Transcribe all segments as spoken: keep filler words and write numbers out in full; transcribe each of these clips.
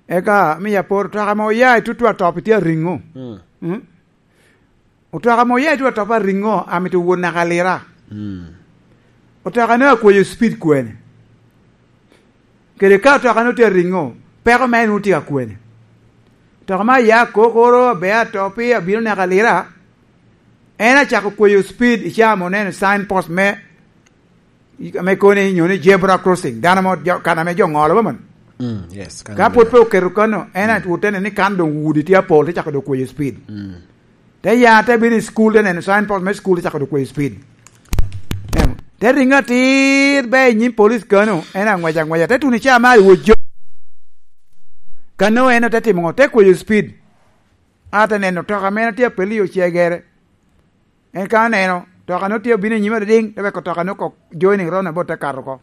Eka mi apor, otoka ame oya i tutu atop tye ariŋo? Mm. Mm? Otoka ame oya i tutu atop ariŋo amito wot naka Lira? Mm. Otoka ne akweyo speed kwene? Kede ka otoka ne tye ariŋo, peko mere nwoŋo tye ka kwene? Otoka me aya kokoro, abe atop, abino naka Lira, en acako kweyo speed i caa ame oneno signpost me, me koni nyo ni zebra crossing, dano mo jo, kan ame jo ŋolo ba man. Mm, yes, kan Ka pwod pe oketo kano, en atwotene ni kan doŋ udi tye apol, te cako doŋ kweyo speed. Mm. Te ya, te bino i school, te neno signpost me school, te cako doŋ kweyo speed. Em, te riŋo atir, be i nyim police kano, en aŋwec aŋweca, te tuno i caa mar i wot jo. Kano en te timo ŋo? Te kweyo speed. A te neno toka mene tye apel i ocegere. En ka oneno toka no tye obino i nyime adadiŋ, te weko toka no kok joining roundabout te kato oko.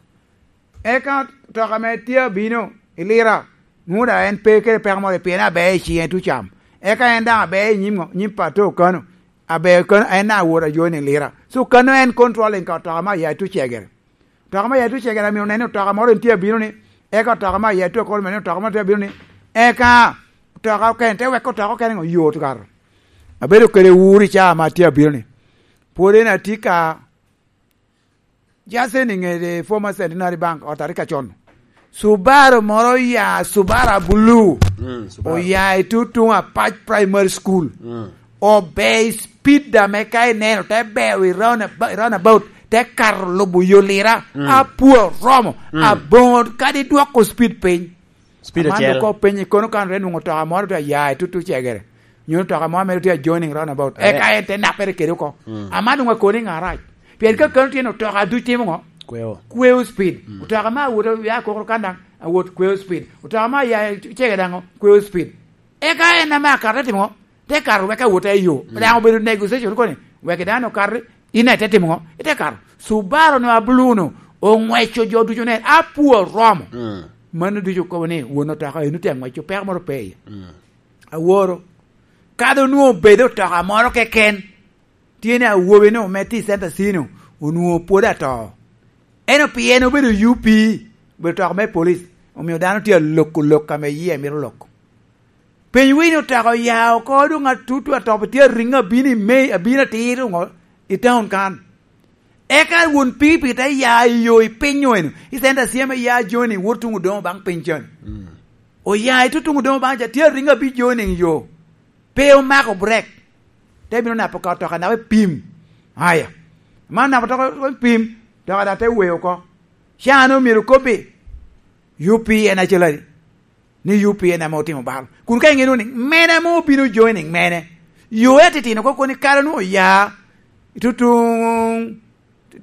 Eka toka ame tye abino i Lira, nwoŋo daŋ en pe kede peko moro, pien aber i ciŋe tucam. Eka en daŋ aber i nyim ŋo? Nyim pato kano. Aber kano, en daŋ awot a joining Lira. So kano en controlling ka toka me aya tucegere. Toka me aya tucegere amio neno toka moro en tye abino ni, eka toka me aya tu akolo mene toka moro tye abino ni, eka toka okene, te weko toka okene ŋo? Yot kato. Abedo kede wur i caa ma tye abino ni. Pwod en atye ka Just en i ŋe former Centenary Bank, ot arika con. Subaru moro oya, Subaru abulu. Mm, Subaru. Oya i tutuŋ Apac Primary School. Mm. Obe i speed ame ka ineno, te beo i round ab-, roundabout, te kato lubo yo Lira. Mm. Apwo romo, mm, aboŋo kadi dwoko speed piny. Speed acel. Aman dok openyo kono kan re nwoŋo toka moro tye aya i tutu cegere. Nyo toka moro mere tye a joining roundabout. Eh. Eka en te nappere kede oko. Mm. Aman nwoŋo akoni ŋa arac. Pien ka kano tye ni otoka duc timo ŋo? Kweo. Kweo speed. Mm. Otoka ma awot ya kokoro kan daŋ, awot kweo speed. Otoka ma ya cege daŋ ŋo? Kweo speed. Eka en ame akato te timo ŋo? Te kato wek awot i yo. Mm. Daŋ obedo negotiation koni, wek dano okati, in ite timo ŋo? Ite kato. Subaru no abulu no, oŋweco jo ducu ne, apwo romo. Mm. Mano ducu okobo ni won otoka eno tye aŋweco, peko moro pe iye. Mm. Aworo. Kadi onwoŋo obedo otoka moro keken, tye ni awobi no me tye i Center C no, onwoŋo pwod ato. Eno pien obedo U P, obedo otoka me police, omio dano tye aloko lok ame yie mito loko. Piny winy otoka oya oko, doŋ atutu atop tye ariŋo abino i May, abino atir doŋo i town kan. Eka won pikipiki te ya i yo i piny eno, i Center C ame ya joining wot tuŋ Odongo baŋ piny can. Mm. Oya i tutuŋ Odongo baŋ ca, tye ariŋo abic joining yo. Pe omako brek. Te bino napo ka otoka nape pim. Aya. Man napo otoka pim, otoka daŋ te weyo oko. Caa-nu myero kobbi, U P en acel adi? Ni U P en ame otimo bal. Kun ka iŋeo ni mene ame obino joining mene, yo atitino koko ni kare onwoŋo oya, tutuŋ,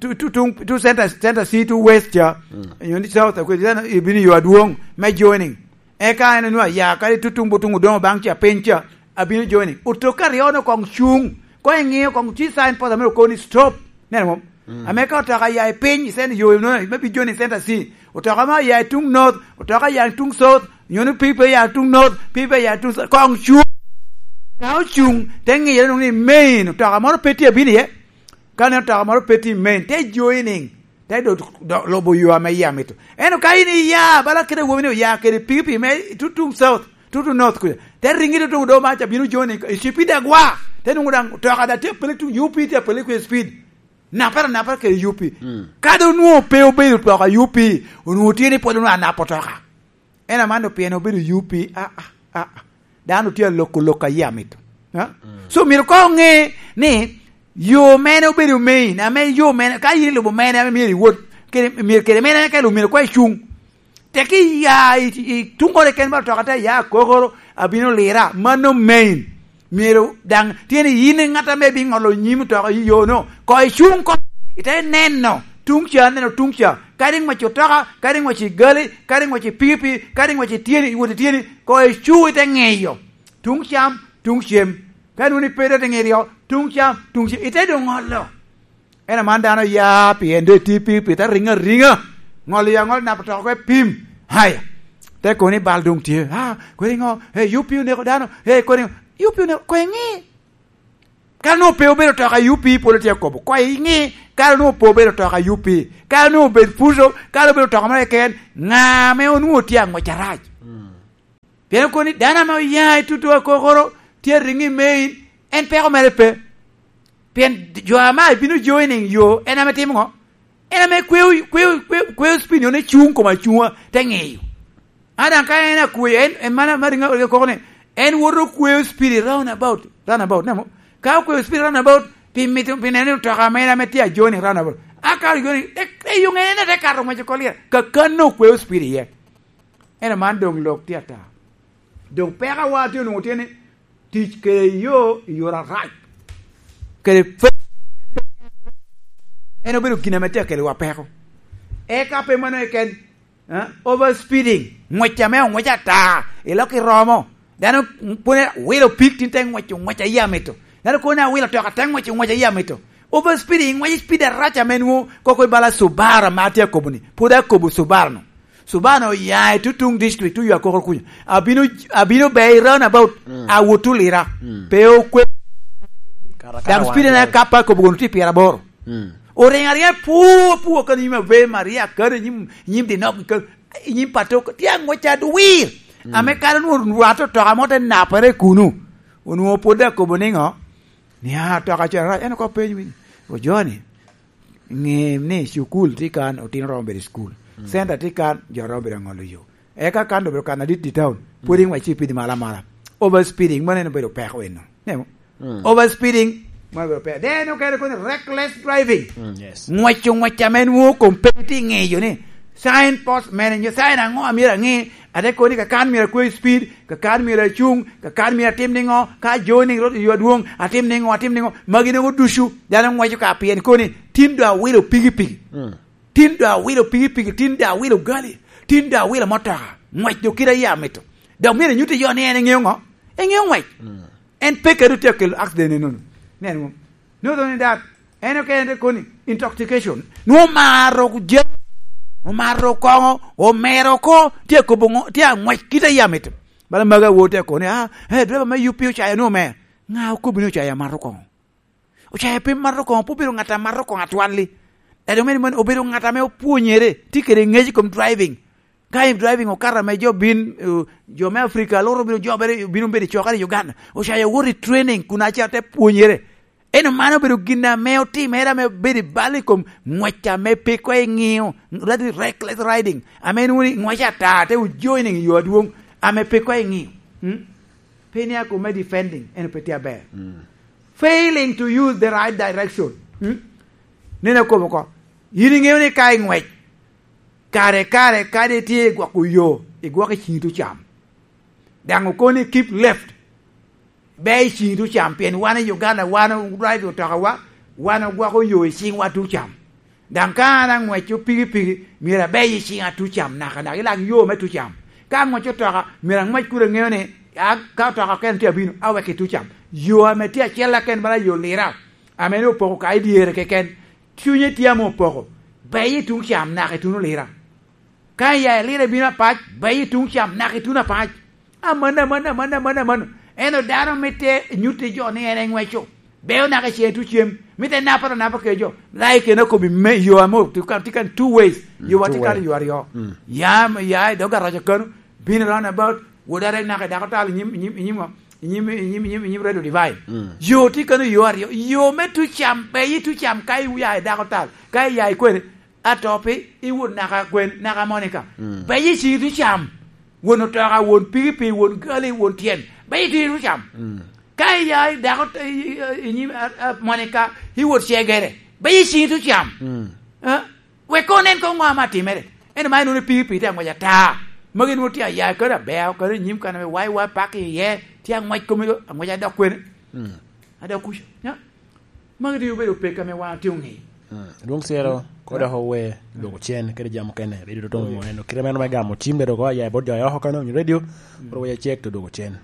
tu-, tutuŋ, tu center, center C, tu west ca, mm, nyo ni south, akwe-, center, ibino yo adwoŋ me joining. Eka en onwoŋo aya, kadi tutuŋ butuŋ Odongo baŋ ca, piny ca, abino joining. Otoka aryo-nu koŋ cuŋ. Koŋ iŋeo koŋ ci signpost ame okobo ni stop. Neno mom? Mm. Ame ka otoka ya i piny, i center yo, no, me bi joining Center C. Otoka ma ya i tuŋ north, otoka ya i tuŋ south, nyo ni pipe ya i tuŋ north, pipe ya i tuŋ south, koŋ cuŋ. Ka ocuŋ, te ŋiyere nwoŋo ni main, otoka moro pe tye abino iye. Ka neno otoka moro pe tye i main, te joining, te do, do, lubo yo ame yie amito. Ento ka in iya, bala kede awobi ni oya kede pikipiki me tutuŋ south, tutuŋ north kuca, te riŋi tutuŋ Odongo baŋ ca bino joining, i cipid agwa, te nwoŋo daŋ otoka daŋ tye apele tuŋ U P, tye apele kwe speed. Napere anapa kede U P. Mm. Kadi onwoŋo pe obedo otoka U P, onwoŋo tye ni pwod onwoŋo anap otoka. En aman dok pien obedo U P, a, a, a, a. Dano tye aloko lok a yie amito. Ha? Mm. So, myero koŋ oŋe ni yo mene obedo main, ame yo mene, ka in ilubo mene ame myero iwot, kede, myero kede mene ame ka ilubo myero koŋ icuŋ. Tek iya i, i tuŋ kore ken ba otoka te ya kokoro, abino Lira, mano main. Myero daŋ tye ni in i ŋat ame biŋolo nyim otoka i yo-no. Koŋ icuŋ koŋ, ite neno tuŋ ca, neno tuŋ ca. Kadi ŋwec otoka, kadi ŋwec i gali, kadi ŋwec i pikipiki, kadi ŋwec i tyeni, iwot i tyeni, koŋ icu ite ŋeyo tuŋ cam, tuŋ cem. Ka nwoŋo ni pe doŋ ite ŋeyo tuŋ cam, tuŋ cem, ite doŋ ŋolo. En aman dano ya pien doŋ etye pikipiki te riŋo ariŋa. Ŋolo ya ŋolo nap otoka oko epim. Haya. Te kono ni bal doŋ tye. Ah, kodi ŋo? Eh, U P oneko dano. Eh, kodi ŋo? U P oneko, koŋ iŋi. Kara nwoŋo pe obedo otoka U P, pwod etye akobo. Koŋ iŋi, kara nwoŋo pe obedo otoka U P. Kara nwoŋo obed Fuso, kara obedo otoka moro keken. Ŋa ame onwoŋo tye aŋwec arac? Mm. Pien okoni dano ame oya i tutu akokoro tye ariŋo i main, en peko mere pe. Pien jo ame bino joining yo, en ame timo ŋo? En ame kweo, kweo, kweo, kweo spinio ne cuŋ kom acuŋa, te ŋeyo. A daŋ ka en akweo, en, en mana, ma riŋo, riŋo koko ni, en woto kweo spirit round about, round about, nemo? Ka okweo spirit round about, pi mito, pi neno ni otoka mere ame tye a joining round about. A ka joining, e, e, yo ŋene ne te kato ŋwec oko lira. Kakano okweo spirit iye. Ento man doŋ lok tye ata. Doŋ peko awa tye onwoŋo tye ni, tic kede yo i yore arac. Kede fe-, en obedo gin ame tye akeliwa peko. Eka pe mano keken, eh, overspeeding, ŋwec ame oŋwec ata, ilok iromo. Dano pwod wilo pig tin te ŋwec, oŋwec a yie amito. Dano kono awilo toka te ŋwec, oŋwec a yie amito. Overspeeding, ŋwec speed arac ame nwoŋo koko i bala Subaru ame atye akobo ni. Pwod akobo Subaru-nu. Subaru-nu oya i tutuŋ district, oyo akoko kunyo. Abino, abino be i roundabout, mm, awot olira. Mm. Pe okwe. Kara, kara. Daŋ speed wan en akapa akobo kono tye pyeraboro. Mm. Oriŋo ariŋa pu, pu, kano nyim Ave Maria, kano nyim, nyim Dinok, kano nyim Pato, tye aŋwec adwir. Mm. Ame kano onwoŋo rwate otoka mo te napere kuno. Onwoŋo pwod akobo niŋo? Ni, "Ah, toka cen arac." En oko penyo ni, "O Joni, ŋe ni cukul tye kan, otino romo bedo i cukul. Mm. Center tye kan, jo romo bedo aŋolo yo. Eka kan obedo kan adit i town, pwod, mm, iŋwec ci pidi malo amala." Overspeeding, mano en obedo peko eno. Nemo? Mm. Overspeeding, mano obedo peko. Then okene koni reckless driving. Mm, yes. Ŋwec, ŋwec ame nwoŋo kom pe tye ŋeyo ni sign post mene, nyo sign aŋo amyero aŋe, ate koni kakan myero akwe speed, kakan myero acuŋ, kakan myero atim niŋo, ka joining road i yo adwoŋ, atim niŋo, atim niŋo, magi noŋo ducu, dano ŋweco ka pien koni, tin doŋ awilo pikipiki. Mm. Tin doŋ awilo pikipiki, tin doŋ awilo gali, tin doŋ awilo motoka, ŋwec doŋ kite a yie amito. Dok myero inyutte jo ni en eŋeo ŋo? Eŋeo ŋwec. Mm. En pe kede otye akelo accident enono. Nen ŋo? Nongo ni dat, en okene te koni, intoxication. Nwoŋo omaro je-, omaro koŋo, omero oko, tye akobo ŋo, tye aŋwec kite a yie amito. Bala magi awo tye akoni, "Ah, eh, driver me U P ocayo ni omer." Ŋa okobbi ni ocayo amato koŋo? Ocayo pe mato koŋo, pe obedo ŋat a mato koŋo atwal-li. Ento meno, meno obedo ŋat ame opwonyere, tye kede ŋec i kom driving. Ka i driving okato ame jo bin, eh, jo me Africa loro bino jobere, bino bedo i cokere i Uganda. Ocayo owoto i training kun aca te pwonyere. Ento man obedo gin ame otimere ame obedo i bal i kom ŋwec ame pe koŋ iŋeo, that is reckless riding. Ame nwoŋo ni ŋwec ata te ojoining i yo adwoŋ ame pe koŋ iŋeo. Hmm? Pe ni akobo me defending, en pe tye aber. Mm. Failing to use the right direction. Hmm? Nene akobo oko. Yin iŋeo ni ka iŋwec, kare, kare, kadi itye i gwoko yo, igwoko i ciŋi tucam. Daŋ okoni keep left. Be i ciŋi tucam, pien wan i Uganda, wan o-, drive otokawa, wan ogwoko yo i ciŋwa tucam. Daŋ ka an aŋweco pikipiki, myero abey i ciŋa tucam nakanaka, i lak yo me tucam. Ka aŋweco otoka, myero aŋwec kun aŋeo ni, a, ka otoka okene tye abino, awek i tucam. Yo ame tye acel aken bala yo lira, ame ni opoko ka i dyere keken, cunye tye ame opoko, bey i tuŋ cam naka i tuno lira. Ka iya i lira ibino apac, bey i tuŋ cam naka i tuno apac. Amanno, amanno, amanno, amanno, amanno. Ento dano mitte nyutti jo ni en eŋweco. Beo naka i cen tucem. Mitte naporo anapa kede jo. Lai kena kobi me yo ame tye kan, tye kan two ways. Mm, yo wa tye kan two way. Yo aryo. Mm. Ya, ya i dog garaja kano. Bino round about. Wod arek naka i dako tal i nyim, i nyim, i nyim ŋo? I nyim, i nyim, i nyim, i nyim Radio Divine. Mm. Yo tye kano yo aryo. Yo me tucam, bey i tucam ka iya i dako tal. Ka iya i kwene. Atopi, iwot naka gwen, naka Monica. Mm. Bey i ciŋi tucam. Won otoka, won pikipiki, won gali, won tyen. Bey i ciŋi tucam. Mm. Ka iya i dako, i, i, i nyim, a, a, Monica, iwot cegere. Bey i ciŋi tucam. Mm. Eh? Wek koŋ nen koŋ ŋo ame atimere. Ento man inwoŋo pikipiki tye aŋwec ata. Magi nwoŋo tye aya kadi abeo, kadi i nyim kan ame wai wai pak iye, tye aŋwec kome, aŋwec adok kwene. Mm. Adok kuca. Ya. Magi dok obedo pek ame wan otye oŋeyo. Mm. Dwong Cero, mm, koda, ya, owe, mm, dwoko cen, kede jam okene, redio Toto, oh, yes, oneno. Kite meno me gamo cim, bedo ko aya i bot jo a oko kano, onyo redio, mm, koro waya cek to dwoko cen.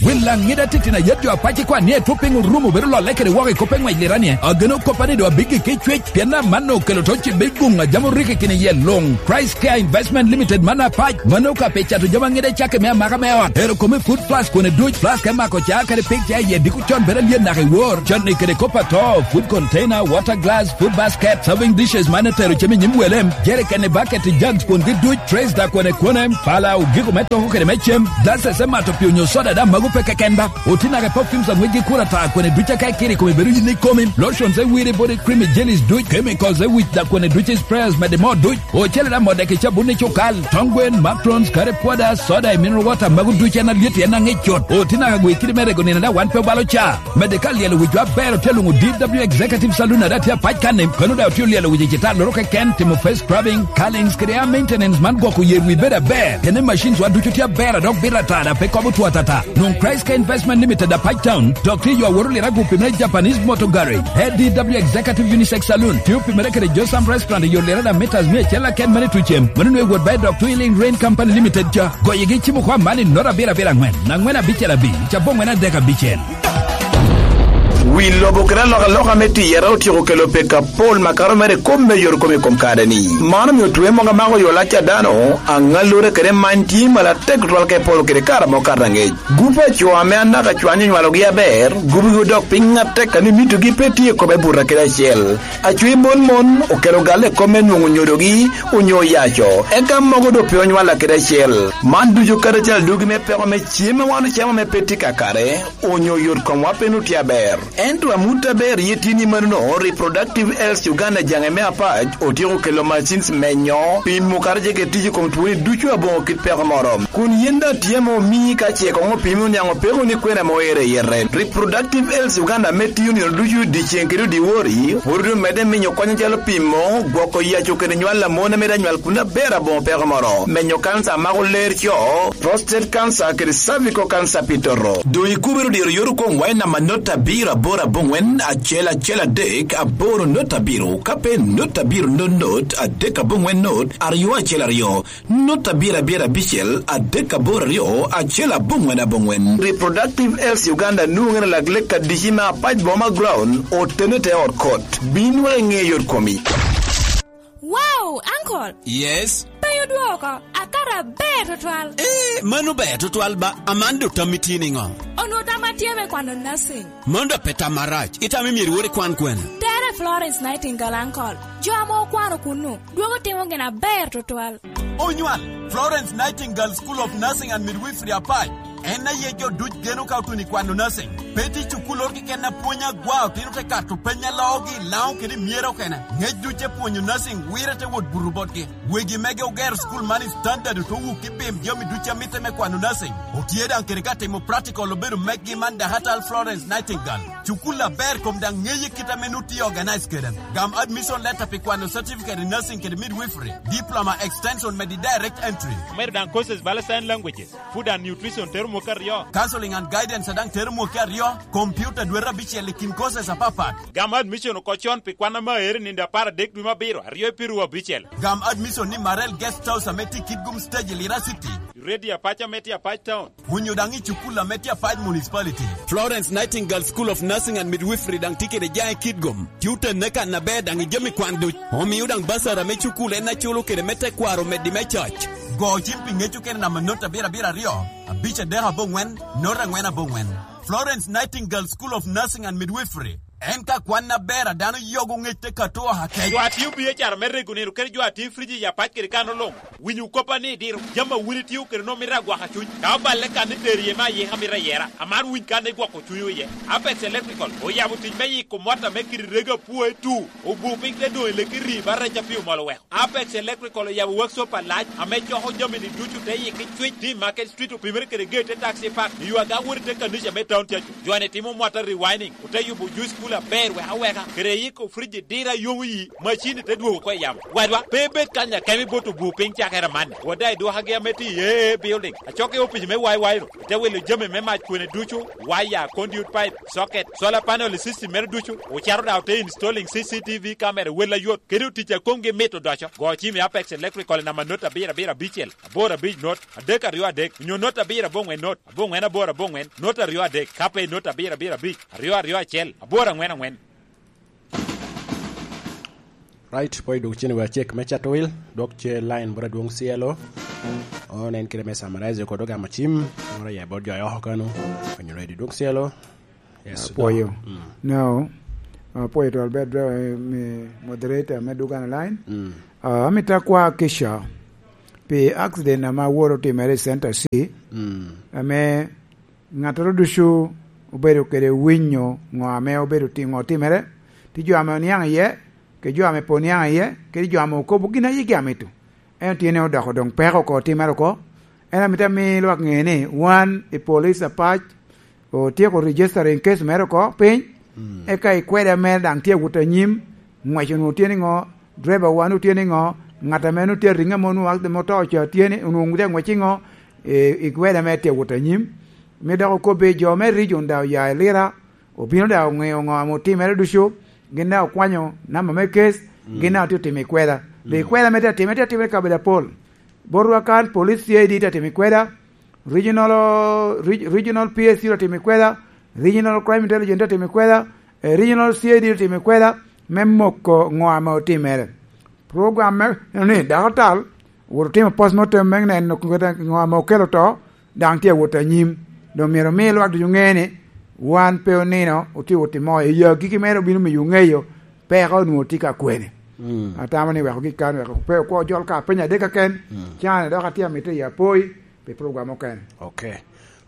Wil Laŋida titino ayet jo apac i kwan ni etwo piny orumo bedo lolle kede woko i kop eŋwec lira ni, ageno koppa ni doŋ abiggi ki cwec, pien amanno okelo to cibbe i guŋ a jam orikki kini yie luŋ. Christ Care Investment Limited man apac, mano ka pi cato jami aŋida i cakki me amaka me ot. Ero kome food flask kone duc, flask me mako ca kede pig ca iye diko con bedo alyet naka i wor, canni kede kop ato, food container, water glass, food basket, serving dishes man etero cem i nyim wele, jerikeni, baketi, jugs kwongi duc, trays da kone kone, pala, ogiko me toko kede me cem, glasses me mato pii onyo soda da mago pe keken ba. Oti naka perfumes aŋwec gi kura ta kone duc aka ikiri kome bedo yin ikomi, lotions e wiri body cream i jellies duc, chemicals e wic da kone duc i sprayers mede mo duc, ocele da mode ki cabun i cukal, tong gwen, macrons, kare pwoda, soda i mineral water mago duc en alyet en aŋic cut. Oti naka gwe kidi me rego nino da wan pe obalo ca. Mede ka lyelo wicwa aber otye luŋo D W Executive Saloon ada tye apac kanni, kano da otye olyelo wic i cita loro keken, timo face scrubbing, curlings kede hair maintenance man gwoko yer wi bedo aber. Kene machines wa ducu tye aber a dok bito ata da pe kobo two atata. Nwoŋ Christ Care Investment Limited apac town, dok tye yo aworo lira gupi me Japanese Motor Garage, A D W Executive Unisex Saloon, tye opimere kede Josam Restaurant i yo lira da meters mia acel aken mani tucem. Mano nwe wot ba i dok Twilling Rain Company Limited ca. Goyigi cimo kwa man i nota abiro abiro aŋwen, aŋwen abicel abic, cabo aŋwen adek abicel. Wi lobo kede alokaloka me tiyere otyeko kelo pek apol makato mere i kop me yot kom i kom kare-ni. Man omio twe mogo amako yo lac a dano, aŋallure kede many tye malo atek tutwal ka iporo kede kare amo kato aŋec. Gup a co ame anaka cwany onywalogi aber, gubigi odok piny atek a ni mitogi pe tye i kome buto kede acel. Acwe mon mon okelo galle i kop me nwoŋo nyodogi onyo oyaco, eka mogo doŋ pe onywalla kede acel. Man ducu kadi acel adugi me peko me cem a wan ocamo ame pe tye kakare, onyo yot komwa pe nwoŋo tye aber. Ento amut aber iye tye ni manono, Reproductive Health Uganda jaŋe me apac otyeko kelo machines menyo, pimo kadi ce kede tic i kom twoni ducu aboŋo kit peko moro. Kun yen daŋ tye ame omii ka ce koŋ opimi oniaŋ opeko ni kwene ame oero i yete. Reproductive Health Uganda ame tiyo nino ducu dyeceŋ kede odiwori, pwod omedde minyo kony acalo pimo, gwoko yaco kede nywal a mon ame daŋ nywal kun aber aboŋo peko moro, menyo kansa a mako ler co, prostate cancer kede cervical cancer pi toto. Doŋ ikubere odiro yot okoŋwa i namba not abiro aboro aboŋwen acel acel adek aboro not abiro, ka pe not abiro not not adek aboŋwen not aryo acel aryo. Not abiro abiro abicel adek aboro aryo acel aboŋwen aboŋwen. Reproductive Health Uganda nwoŋere lak lek adici me apac boma ground otene te ot kot. Bin wek iŋe yot komi. Wow, uncle! Yes? Penyo dwoko, akato aber tutwal. Eh, mano ber tutwal ba, aman do tammi tye niŋo? Onwo tamma tye me kwano nursing. Mano da pe tam marac, itamo myero iwor ikwan kwene? Tere Florence Nightingale, uncle. Jo ame okwano kunnu. Dwogo timo gin aber tutwal. Onywal, Florence Nightingale School of Nursing and Midwifery apac. En aye jo duc geno ka otuno i kwano nursing. Pe tye cukul oro keken a pwony agwa otino te kato peny a loogi i Laŋo kede i Myero okene. Ngec duc te pwonyo nursing wire te wot buto botgi. Wegi mege ogero cukul man i standard oto wuk i pim jami duc a mitte me kwano nursing. Otye daŋ kede ka timo practical obedo meggi man Dahatal Florence Nightingale. Cukul aber kom daŋ ŋeye kit ame nut tye organize kede. Gam admission letter pi kwano certificate in nursing kede midwifery, diploma extension medi direct entry. Omedo daŋ courses bala sign languages, food and nutrition tero mwaka aryo. Counseling and guidance a daŋ tero mwaka aryo, computer dwete abicel i kin courses apapat. Gam admission oko con pi kwan ame aere nindo apar adek dwe me abiro, aryo i piru abicel. Gam admission ni Marel Guest House ame tye i Kitgum Stage i Lira City. Radio Apac ame tye Apac Town. Onyo daŋ i cukul ame tye Apac Municipality. Florence Nightingale School of Nursing and Midwifery daŋ tye kede jaŋ i Kitgum. Tye otenne kan aber daŋ i jami kwan duc. Omio daŋ basara me cukul en aculo kede me tekwaro omeddi me coc. Go cim pi ŋec okene namba not abiro abiro aryo, abic adek aboŋwen, not aŋwen aboŋwen. Florence Nightingale School of Nursing and Midwifery. En ka kwan aber a dano yogo ŋec te kato oha kec. Jo a tio B H R me rego nino kede jo a tio i friji i Apac kede kan oluŋ. Winyo koppa ni diro jami a wun itio kede nwoŋo mito agwaka cuny. Ka oballe kan ni tero iye me ayika mito ayera, amaro winy kan igwoko cunywu iye. Apex Electrical oyabo tic me yiko mota me kidi rego apwoe tu, obu piny te doŋ i leki rii ba rec a pii omol oweko. Apex Electrical oyabo workshop alac ame coko jami-ni ducu te yiki cwic, tye i Market Street opimere kede gate te Taxi Park, i yo aga wot i te kanica me town cacu. Jo-ni timo mota rewinding, ote yubo juice Aber wek aweka, kede iko frij i dira yomo yi, macini te dwogo oko i yamo. Wadwa, pe ibed kany akemi bot obur piny cakere amanni. Wada idwokagi ame tye i A A building, acok i opic me Y Y ro, ite wilo jami me mac kwene ducu, waya, conduit pipe, socket, solar panel i system mere ducu, ocato daŋ ote installing C C T V camera wel ayot, kede otic a komgi mit odoco. Go cim i Apex Electrical i namba not abiro abiro abicel, aboro abic not, adek aryo adek, onyo not abiro aboŋwen not, aboŋwen aboro aboŋwen, not aryo adek, ka pe i not abiro abiro abic, aryo aryo acel, aboro aŋwen aŋwen. Right, pwod idwog cen wa cek me Chatwil, dwok ce line bot adwoŋ Cielo. Onen kite me summarize kod ogamo cim, ora ya bot jo oko kano, onyo ready dwoŋ Cielo. Yes, apwoyo. Mm. No. Apwoyo to Albert, eh, me moderator me Dugan Line. Mm. Ah, amito akwa Kisha pi accident ame aworo otimere i Center C. Mm. Ame ŋattoro ducu obedo kede winyo ŋo ame obedo ti-, ŋo otimere, tye jo ame oniaŋ iye, kede jo ame pe oniaŋ iye, kede jo ame okobo gin a yigi amito. En otye ni odoko doŋ peko oko, otimere oko. En amito ami lwak ŋe ni wan i police apac otyeko registering case mere oko piny, mm, eka ikweda mere daŋ tye awot anyim, ngwec onwoŋo tye niŋo, driver wa onwoŋo tye niŋo, ŋat ame onwoŋo tye ariŋo ame onwoŋo accident ame oto ca tye ni, onwoŋo tye aŋwec iŋo, i, ikweda mere tye awot anyim. Mi dok okobbe jo me region daŋ oya i Lira, obino daŋ oŋeo ŋo ame otimere ducu, gin daŋ okwanyo namba me case, mm, gin daŋ otye otimo ikweda. Be, mm, ikweda me tye atime, tye atime i kabedo apol. Botwa kan, police C I D tye atimo ikweda, regional, reg-, regional P S C tye atimo ikweda, regional crime intelligence tye atimo ikweda, eh, regional C I D tye atimo ikweda, me moko ŋo ame otimere. Program me, ni, dako tal, owoto otimo postmortem me neno ŋo ame okelo to, daŋ tye awot anyim. Doŋ myero omi lwak ducu ŋe ni wan pe onino, otye wot i moo. I agikki mere obino miyo ŋeyo peko onwoŋo tye ka kwene. Mm. Atamo ni weko gik kan, weko pe okwo jol ka penya adek keken, mm, can dok atye amito i apoi pi program okene. Ok.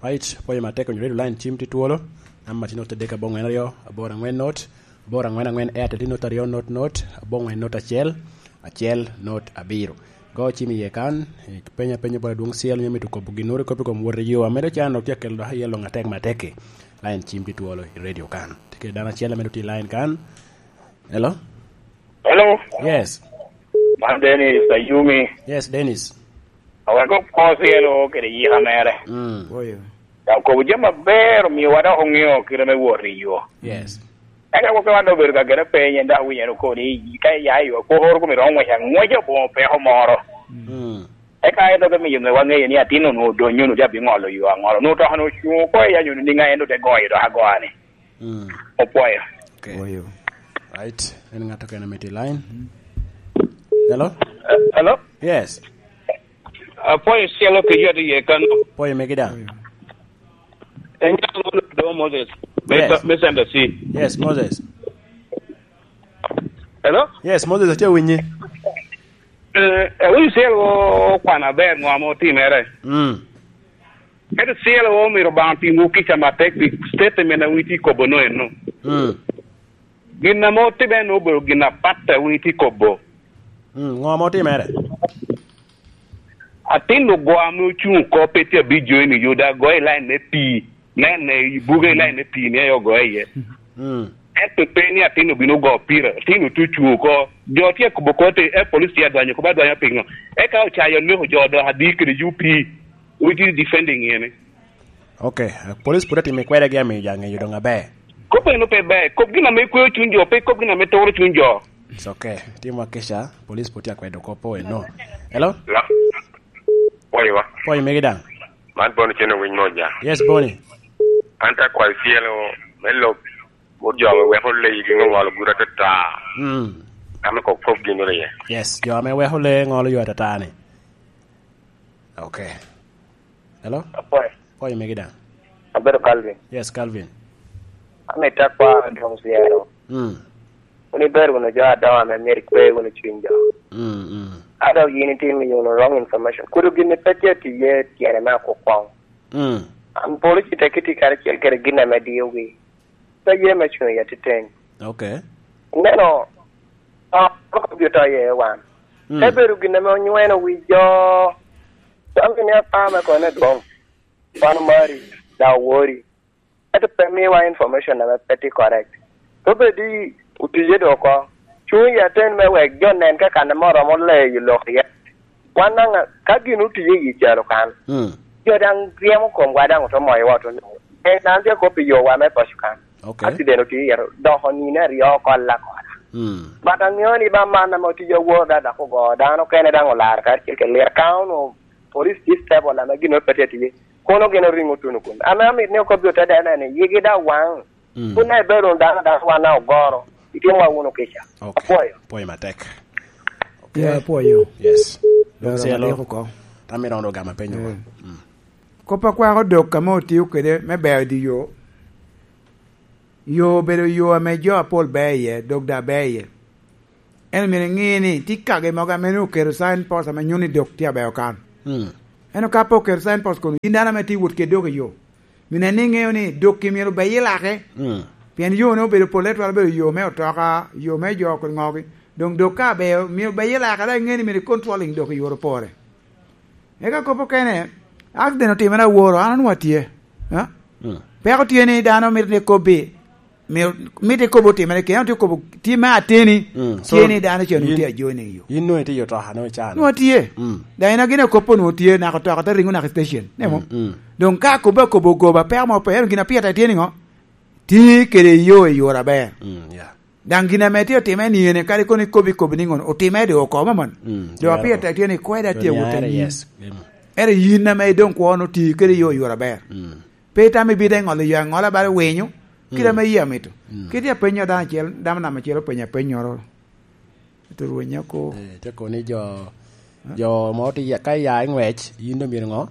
Right, apwoyo matek, onyo ready line cim tye twolo. Namba tye not adek aboŋwen aryo, aboro aŋwen not, aboro aŋwen aŋwen, Airtel tye not aryo not not, aboŋwen not acel, acel not abiro. Go cim iye kan, ipenya penya bot adwoŋ Cielo, onyo mito kobo ginnoro i kop i kom wot i yo, amedo can dok tye akelo dok iye loŋ atek matek-ki. Line cim tye twolo i radio kan. Tye kede dano acel amedo tye i line kan. Hello? Hello? Yes. Man Dennis Ayumi. Yes, Dennis. Awek opwo Cielo kede yika mere. Mm. Oyo. Dok kobo jami aber, omiowa dok oŋeo kite me wot i yo. Yes. Eka koppe wan obedo ka gene peny, en dok awinyo en okobo ni, ka iya i yo, koko oro kome romo ngwec angweca aboŋo peko moro. Mm. Eka en dok emiyo nge-, waŋeyo ni atin onwoŋo odonyo, onwoŋo tye abiŋolo yo aŋolo. Onwoŋo toka-nu ocuŋ oko i anyuno niŋa, en ote goyo dok agoa ni. Mm. Opwoyo. Ok. Oyo. Right. En ŋat okene mito i line. Hello? Eh, hello? Yes. Apwoyo Cielo kede yot iye kano. Pwoyo megi daŋ. Oyo. En nyalo do Moses. Yes. Me, me Center C. Yes, Moses. Hello? Yes, Moses, atye awinyi. Eh, awinyo Cielo okwano aber ŋo ame otimere. Mm. Ento Cielo omito Obaŋa otimwu kica matek pi statement a wun itye kobo no eno. Mm. Gin ame otimere no obedo gin apat a wun itye kobo. Mm, ŋo ame otimere? Atin ogo ame ocuŋ oko pe tye abic jo eni, yo da goyo i line me pii. Nen, eh, i buge i line me pii ni aye ogoyo iye. Mm. Ento pe ni atin obino ogo pira, atin otuc cuŋ oko. Jo tye akobo kop te, eh, police tye adwanyo kop adwanya piŋo? Eka ocayo oneko jo dok adi kede U P, which is defending ene. Ok, eh, police pwod atimo ikwedegi amiyo jo aŋeyo doŋ aber. Kop eno pe ber, kop gin ame kweo cuny jo, pe kop gin ame turo cuny jo. It's ok, timo akica, police pwod tye akwedo kop eno. Hello? Hello? Pwoyo wa. Pwoyo megi daŋ. Man Boni Cen Owiny Moja. Yes, Boni. An te akwayo Cielo me lok bot jo ame weko leyi gi ŋo ŋolo gura atata. Mm. Ame kok kop gin iye. Yes, jo ame weko lee ŋolo yo atata ni. Ok. Hello? Apwoyo. Pwoyo megi daŋ. Abedo Calvin. Yes, Calvin. Amito akwa Adwoŋ Cielo. Mm. Wun ibedo wunu jo adoŋo ame myero ikwe wunu cuny jo. Mm, mm. A dok yin itye miyo wunu wrong information. Kudu gin pe tye tiye tyene me akukwoŋ. Mm. An polo ci tek itye karacel kede gin ame diyo wi. Pe ye me cuŋ i atiteng. Ok. Ineno, a, oko bito ye wan. Mm. Te bedo gin ame onyweno wi jo. Dok gin apar me kone dwoŋ. Wan omari, da owori. Ento pe miwa information ame pe tye correct. Obedi otiye do oko. Cuŋ i aten me wek jo nen ka kan ame oromo leyo lok iye. Wan daŋ, ka gin otiye i calo kan, mm, jo daŋ ryemo komwa daŋ ote moyowa ote nwoŋo. En an tye akop i yowa me paco kan. Okay. Accident otye iye, dok onine aryo oko alakola. Mm. But aŋeo ni ba man ame otye awor da dok ogo dano okene daŋ olar karacel kede liro. Ka onwoŋo police chief table ame gin pe tye tye, kono gin oriŋo tuno kun. Ame amit ni okobbi ote dene ni, yigi da waŋ. Mm. Kun en bedo wunu dano, dano wan a ogoro, itimowa wunu kica. Okay. Apwoyo. Apwoyo matek. Okay. Yeah, apwoyo. Yes. Dong cielo, oko. Tam iromo dok gamo penyo. Mm. Mm. Kop a kwako dok ka ma otio kede me beo di yo. Yo obedo yo ame jo apol beo iye, dok da beo iye. En myero iŋe ni tye kagi mogo ame nwoŋo oketo sign post ame nyuto ni dok tye abeo kan. Mm. Ento ka pe oketo sign post kono, yin dano ame tye wot kede dok i yo, myero nen ni iŋeo ni dok-ki myero obeye lake. Mm. Pien yo-ni obedo pole twero bedo yo me otoka, yo me jo kun ŋogi. Doŋ dok ka abeo, myero obeye lake, dok iŋe ni myero i controlling dok i yore pore. Eka kop okene, accident otimere aworo, an onwoŋo atye. Ha? Mm. Peko tye ni dano mito ni kobbi, mito, mito ikobo otimere kene, tye kobo, tye me ateni, mm, tye so, ni dano ca onwoŋo yin, tye ajoining yo. Yin nwoŋo itye i otoka, nwoŋo icaa. Nwoŋo atye. Mm. Daŋ en agin akoppo nwoŋo tye, naka otoka te ringo naka i station. Nemo? Mm, mm. Doŋ ka akobbe akobo ogoba, peko mo pe, ento gin a pire tek tye niŋo? Ti kede yo i yore aber. Mm, yeah. Daŋ gin ame tye otime ni ene, kadi kono ikobo ikobo niŋo, otime doŋ oko, mamon. Mm, doŋ yeah, apire tek tye ni kweda tye awot anyim. Yes. Mm. Ere yin ame idoŋ kwo no ti kede yo i yore aber. Mm. Pe itamo ibino te ŋolo yo aŋola bala winyo, kite ame yie amito. Mm. Kit i apenyo dano acel, dano nam acel openyo apennyoro. Ento rweny oko. Eh, te kono ni jo, jo mo ti ya, ka ya i ŋwec, yin do myero ŋo?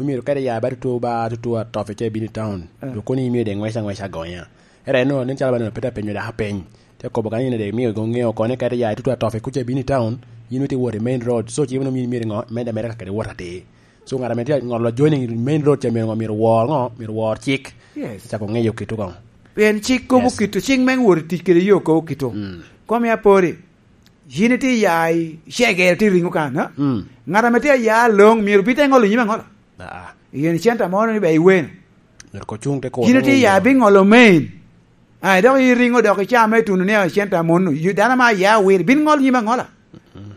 Omyero kadi ya ba tutu, ba tutu atofi ca ibino i town. Eh. Dok kono imyero de ŋwec aŋweca agonya. Ere no, nen calo ba neno peta penyo daka peny. Te kobo kan yin de miyo go ŋeo kono kadi ya tutu atofi kuca ibino i town, yin witi wot i main road. So, ci mano myero, myero ŋo? Meda meda ka kede wot atir. So, ŋat ame tye ŋolo joining main road ca myero ŋo? Myero wor ŋo? Myero wor cik. Yes. Cako ŋeyo kito koŋ. Pien cik kobo kito, cik me wot i tic kede yo kobo kito. Mm. Kom ya pori, yin itye ya i cegere tye ringo kan, ha? Mm. Ŋat ame tye ya loŋ myero bite ŋolo nyime aŋola. Ah, ah. Yen centa mo ni be iweno. Myero ko cuŋ te ko. Yin itye ya bi ŋolo main. Ai, dok iriŋo dok icaa me tuno ni centa mono. Dano ma ya wir, bin ŋol nyime aŋola.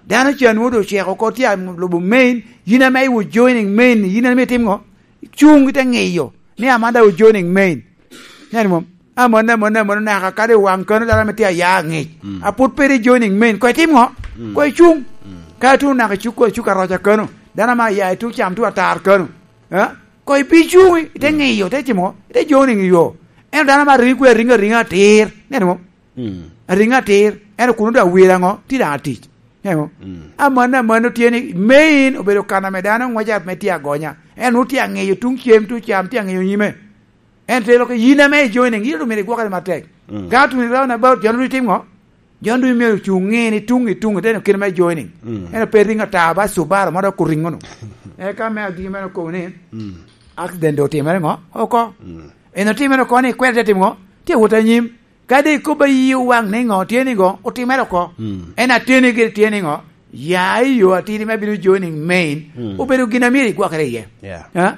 Dano ca nwoŋo oceko oko tye a lubo main, yin ame iwo joining main, yin ame itim ŋo? Cuŋ ite ŋiyo ni Amanda o joining main. Neno mom? Amon, amon, amon, naka kadi waŋ kano dano ame tye aya aŋic. Mm. Aput peri joining main, ko itim ŋo? Mm. Ko icuŋ. Mm. Ka ituŋ naka icuk, icuk aroca kano, dano ame aya ituŋ cam tuŋ atar kano. Eh? Ko ibi cuŋ, ite ŋiyo, ite timo ŋo? Ite joining yo. Ento dano ame aringo kwe, aringo, aringo atir. Neno mom? Mm. Aringo atir, ento kun odok awil aŋo? Tye daŋ atic. Ŋeo? Mm. Amanno, amanno tye ni main obedo kan ame dano ŋweco ame tye agonya. En nwoŋo tye aŋeyo tuŋ cem, tuŋ cam, tye aŋeyo nyime. En telo ke yin ame i joining, yin omyero igwokere matek. Mm. Ka otuni round about, jon ru itim ŋo? Jon ru myero ocuŋ ŋe ni tuŋ i tuŋ, iteno kite me joining. Mm. En ope ringo ata ba Subaru ma dok oriŋo no. Eka me agiki meno okobo ni, mm, accident otimere ŋo? Oko. Mm. En otimere oko ni kwede te timo ŋo? Tye wot anyim. Kadi ikobo ayi owaŋ ni ŋo tye ni ŋo, otimere oko. Mm. En ateni gire tye ni ŋo, ya i yo atidi me bino joining main, mm, obedo gin a myero igwokere iye. Yeah. Ha?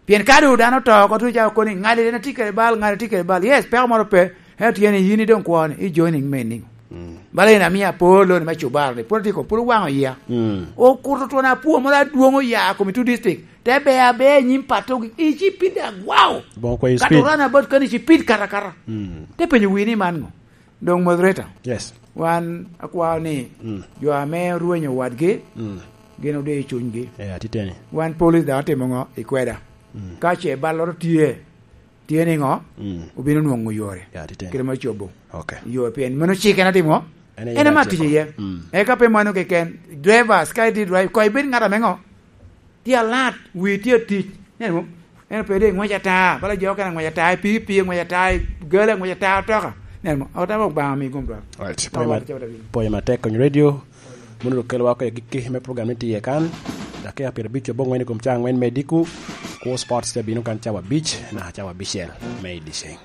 Pien ka doŋ dano oto oko, tuŋ cako koni, ŋali en atye kede bal, ŋali atye kede bal. Yes, peko moro pe, ento tye ni yin idoŋ kwone, i joining main niŋo? Mm. Bala en amio apor loni me cubaro ni, pwod atye ko, pwod owaŋo iya. Mm. Okuto twon apwo moro adwoŋ oya kom i two district. Te be abea i nyim pato, i ci pid agwao. Boŋo kwe i speed. Kato run about kani ci pid kata kata. Mm. Te penyo wi ni man ŋo? Doŋ moderator. Yes. Wan akwao ni, mm, jo ame orwenyo wadgi, mm, gin ode i cunygi. Eh, atiteni. Wan police daŋ otimo ŋo? Ikweda. Mm. Ka ce balloro tye, tye ni ŋo? Mm. Obino nwoŋo yore. Ya, atiteni. Kite ma cobo. Okay. Yo pien mano cik en atimo ŋo? En ema tic iye. Mm. Eka pe mano keken, drivers, ka itye drive, ko ibed ŋat ame ŋo? Tye alat, wi tye atic. Neno mo? En pe de ŋwec ata, bala jo okene ŋwec ata, i pii pii ŋwec ata, i gala ŋwec ata, otoka. Neno mo? Otoka Obaŋa mi gum dwaro. Right. Pwoyo ma-, pwoyo matek kony radio. Mono dok kelowa oko i agikki me program ni tye kan. Dakika pyerabic abongwen i kom ca angwen me diko. Kwo Sports te bino kan cawa abic, naka cawa abicel me i dyeceng.